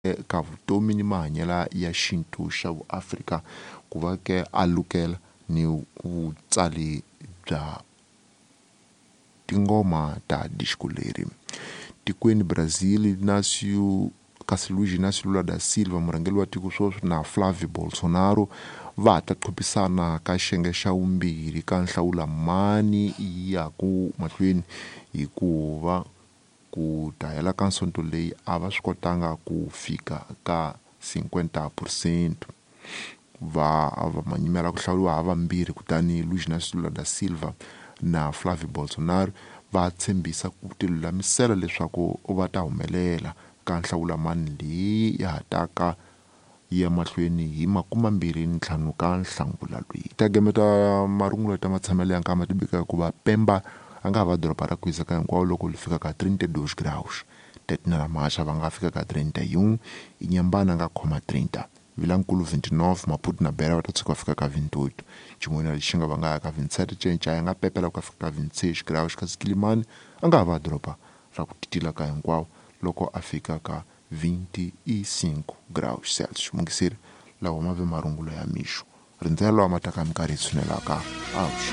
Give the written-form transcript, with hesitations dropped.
Ka vutomi ni mahanyelo ya xintu xa vuAfrika ku va ke a lukela ni vutsali bya tingoma ta disco leri. Tikweni Brazil Inácio kasi Luiz Inácio Lula da Silva murhangeri wa tiko sweswi na Flavio Bolsonaro va ha ta qhuphisana ka xiyenge xa vumbirhi ka nhlawula mani ya ku mahlweni hikuva ku ta hela ka sonto leyi a va swi kotanga ku fika ka 50 percent va va manyimela ku hlawuriwa ha vambirhi kutani Luiz Inácio Lula da Silva na Flavio Bolsonaro va tshembisa ku tilulamisela leswaku va ta humelela ka nhlawulamani leyi ya ha taka yi ya mahlweni hi 25 ka Nhlangula loyi. Ta gemeta marungulo ta matshamelo ya nkama ti bika hikuva Pemba a nga ha va doroba ra ku hisa ka hinkwawo loko li fika ka 32 graus. Tete na Maxa va nga fika ka 31, Inyambana a nga khoma 30, Vilankulu 29, Maputo na Beira va ta tshuka va fika ka 28, Chimoio na Lixinga va nga ya ka 27, Cinca ya nga pepela ku ya fika ka 26 graus kasi Kilimani a nga ha va doroba ra ku titila ka hinkwawo loko a fika ka 25 graus Celsius. Mungiseri lawa ma ve marungulo ya mixo rindzela lawa ma taka minkarhi yi tshunelaka.